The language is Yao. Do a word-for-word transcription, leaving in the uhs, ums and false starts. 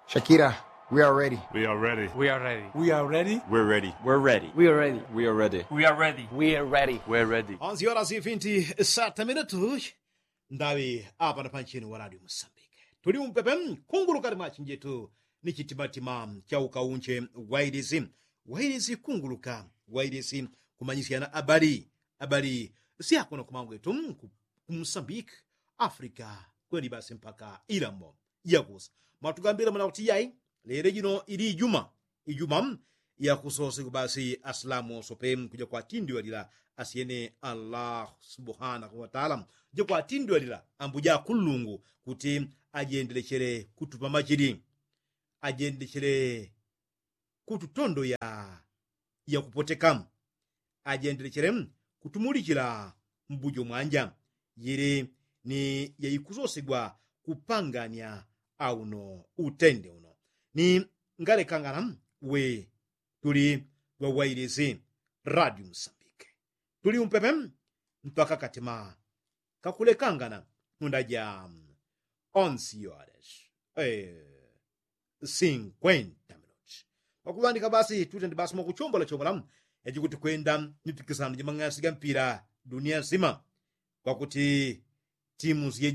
Shakira, we are ready. We are ready. We are ready. We are ready. We're ready. We're ready. We are ready. We are ready. We are ready. We're ready. We're ready. We're ready. Onzi ora zifinti sata minutu. Ndawi apa na panchini wa radio musambike tuli umpepe. Kunguluka limachinjetu ni chitimatima cha ukaunche. Wailisi, wailisi kunguluka, wailisi kumanyisyana abali, abali syakuno kumangwetu, kumusambike, afrika, kweli basi mpaka ilamo. Yakusa mwatugambile mwana kuti yai, lele jino ili ijuma, ijuma yakusosegwa basi asilamu oso pe kuja kwatindiwalila asyene allah subhanahu wataala. Kuja kwatindiwalila ambuja akullungu kuti ajendelechele kutupa majili, ajendelechele kututondoya yakupoteka, ajendelechele kutumulichila mbujo mwanja. Yili ni yaikusosegwa kupangania auno utende uno ni ngalekangana we tuli wawailisi radio musambike. Tuli umpepe mpaka katima kakulekangana munda ja onsi yoades sinkwenta minuti. Pakuŵandika basi tutendi basi mwakuchombola chombola yajikuti kwenda mipikisano jamang'asi ga mpira dunia nsima. Kwakuti timu sije